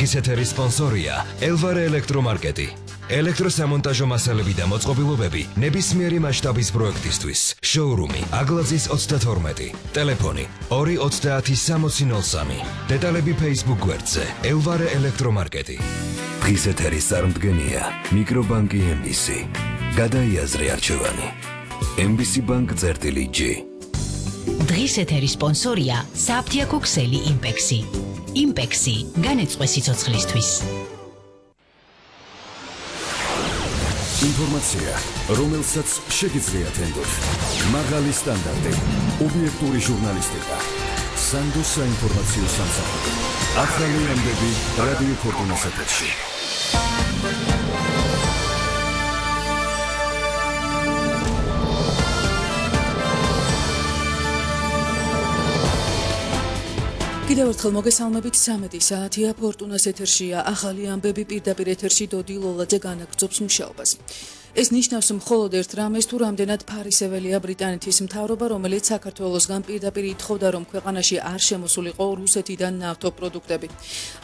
დღის ეთერის სპონსორია ელვარე ელექტრომარკეტი. ელექტროსამონტაჟო მასალები და მოწყობილობები ნებისმიერი მასშტაბის პროექტისთვის. შოურუმი აგლაძის 32. ტელეფონი 2306003. დეტალები Facebook გვერდზე ელვარე ელექტრომარკეტი. დღის ეთერის წარმდგენია მიკრობანკი MBC. გადაიაზრე არჩევანი. MBC Bank-G. დღის ეთერის სპონსორია საფთიაქო ქსელი იმპექსი. იმპექსი განეწყვე სიცოცხლისთვის. ინფორმაცია, რომელსაც შეგიძლიათ ენდოთ. მაღალი სტანდარტი, ობიექტური ჟურნალისტიკა. სანდოს საინფორმაციო სამსახური. ახალი ამბები რადიო ფორტუნას ეთერში. კიდევ ერთხელ მოგესალმებით 13 საათია ფორტუნას ეთერშია ახალი ამბები პირდაპირ ეთერში დოდი ლოლაძე განაგრძობს მუშაობას. ეს ნიშნავს მხოლოდ ერთ რამეს თუ რამდენად ფარისეველია ბრიტანეთის მთავრობა, რომელიც საქართველოსგან პირდაპირ ითხოვდა, რომ ქვეყანაში არ შემოსულიყო რუსეთიდან ნავთობპროდუქტები.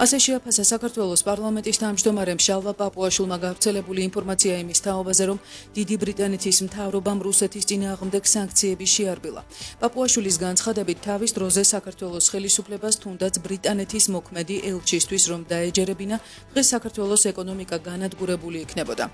ასე შეაფასა საქართველოს პარლამენტის თავმჯდომარემ შალვა პაპუაშვილმა გავრცელებული ინფორმაცია იმის თაობაზე, რომ დიდი ბრიტანეთის მთავრობამ რუსეთის წინააღმდეგ სანქციები შეარბილა. პაპუაშვილის განცხადებით, თავის დროზე საქართველოს ხელისუფლებას თუნდაც ბრიტანეთის მოქმედი ელჩისთვის რომ დაეჯერებინა, დღეს საქართველოს ეკონომიკა განადგურებული იქნებოდა.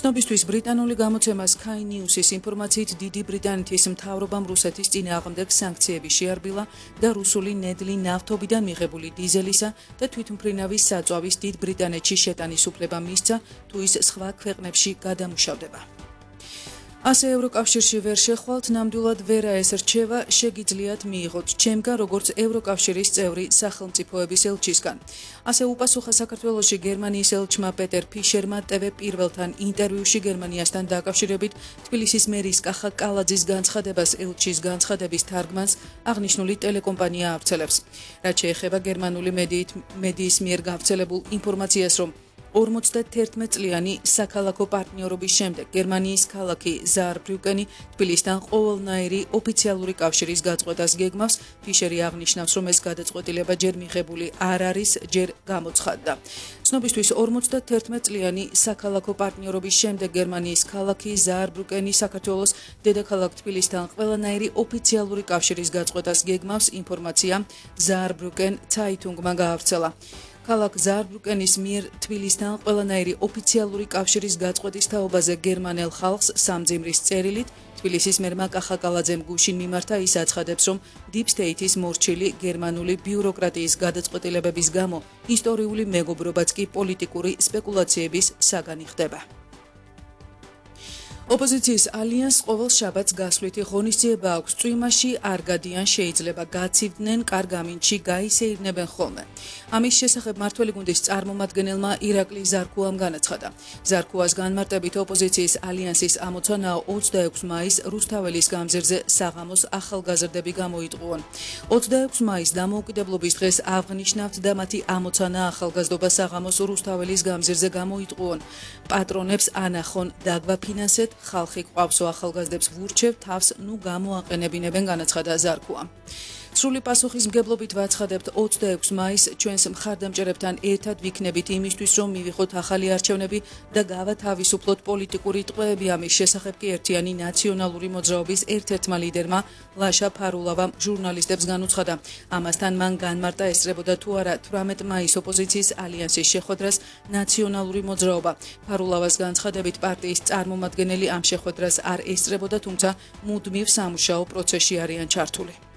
ცნობისთვის ბრიტანული გამოცემა Sky News-ის ინფორმაციით დიდი ბრიტანეთის მთავრობამ რუსეთის წინააღმდეგ სანქციები შეარბილა და რუსული ნედლი ნავთობიდან მიღებული დიზელისა და თვითმფრინავის საწვავის დიდ ბრიტანეთში შეტანის უფლება მისცა, თუ ის სხვა ქვეყნებში გადამუშავდება. ასე ევროკავშირში ვერ შეხვალთ, ნამდვილად ვერა ეს რჩევა შეგიძლიათ მიიღოთ ჩემგან როგორც ევროკავშირის წევრი სახელმწიფოების ელჩისგან. ასე უპასუხა საქართველოში გერმანიის ელჩმა პეტერ ფიშერმა TV პირველთან ინტერვიუში გერმანიასთან დაკავშირებით თბილისის მერის კახა კალაძის განცხადებას ელჩის განცხადების თარგმანს აღნიშნული ტელეკომპანია ავრცელებს. რაც შეეხება გერმანული მედიის მიერ გავრცელებულ ინფორმაციას, რომ 51 წლიანი საქალაქო პარტნიორობის შემდეგ გერმანიის ქალაქი ზაარბრიუკენი თბილისთან ყოველნაირი ოფიციალური კავშირის გაწყვეტას გეგმავს. ფიშერი აღნიშნავს, რომ ეს გადაწყვეტილება ჯერ მიღებული არ არის, ჯერ გამოცხადდა. ცნობისთვის 51 წლიანი საქალაქო პარტნიორობის შემდეგ გერმანიის ქალაქი ზაარბრიუკენი საქართველოს დედაქალაქ თბილისთან ყველანაირი ოფიციალური კავშირის გაწყვეტას გეგმავს. ინფორმაცია ზაარბრიუკენ ცაიტუნგმა გაავრცელა. ქალაქ ზაარბრიუკენის მიერ თბილისთან ყველანაირი ოფიციალური კავშირის გაწყვეტის თაობაზე გერმანელ ხალხს სამძიმრის წერილით თბილისის მერმა კახა კალაძემ გუშინ მიმართა. ის აცხადებს, რომ Deep State-ის მორჩილი გერმანული ბიუროკრატიის გადაწყვეტილებების გამო ისტორიული მეგობრობაც კი პოლიტიკური სპეკულაციების საგანი ხდება. ოპოზიციის ალიანსს ყოველ შაბათს გასვლითი ღონისძიება აქვს. წვიმაში არ გადიან, შეიძლება გაცივდნენ, კარგ ამინდში გაისეირნებენ ხოლმე. ამის შესახებ მართველი გუნდის წარმომადგენელმა ირაკლი ზარქუამ განაცხადა. ზარქუას განმარტებით ოპოზიციის ალიანსის ამოცანაა 26 მაისს რუსთაველის გამზირზე საღამოს ახალგაზრდები გამოიტყუონ. 26 მაისს დამოუკიდებლობის დღეს აღნიშნავთ და მათი ამოცანა ახალგაზრდობა საღამოს რუსთაველის გამზირზე გამოიტყუონ. პატრონებს ანახონ, დაგვაფინანსეთ, ხალხი ყავსო ახალგაზრდებს ვურჩევ, თავს ნუ გამოაყენებინებენ, განაცხადა ზარქუამ. სრული პასუხისმგებლობით ვაცხადებთ 26 მაისს ჩვენს მხარდამჭერებთან ერთად ვიქნებით იმისთვის, რომ მივიღოთ ახალი არჩევნები და გავათავისუფლოთ პოლიტიკური ტყვეები. ამის შესახებ კი ერთიანი ნაციონალური მოძრაობის ერთ-ერთმა ლიდერმა ლაშა ფარულავამ ჟურნალისტებს განუცხადა. ამასთან მან განმარტა ესწრებოდა თუ არა 18 მაისს ოპოზიციის ალიანსის შეხვედრას ნაციონალური მოძრაობა. ფარულავას განცხადებით პარტიის წარმომადგენელი ამ შეხვედრას არ ესწრებოდა, თუმცა მუდმივ სამუშაო პროცესში არიან ჩართული.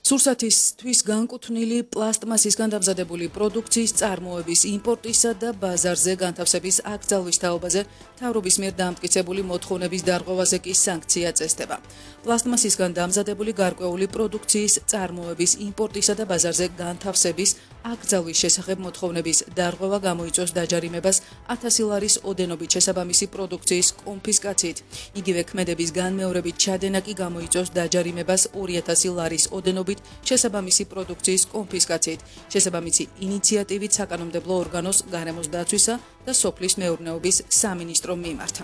სურსათისთვის განკუთვნილი პლასტმასისგან დამზადებული პროდუქციის წარმოების იმპორტისა და ბაზარზე განთავსების აკრძალვის თაობაზე მთავრობის მიერ დამტკიცებული მოთხოვნების დარღვევაზე კი სანქცია წესდება. პლასტმასისგან დამზადებული გარკვეული პროდუქციის წარმოების იმპორტისა და ბაზარზე განთავსების აკრძალვის შესახებ მოთხოვნების დარღვევა გამოიწვევს დაჯარიმებას 1000 ლარის ოდენობით შესაბამისი პროდუქციის კონფისკაციით. იგივე ქმედების განმეორებით ჩადენა კი გამოიწვევს დაჯარიმებას 2000 ლარის ოდენობით შესაბამისი პროდუქციის კონფისკაციით. შესაბამისი ინიციატივით საკანონმდებლო ორგანოს გარემოს დაცვისა და სოფლის მეურნეობის სამინისტრომ მიმართა.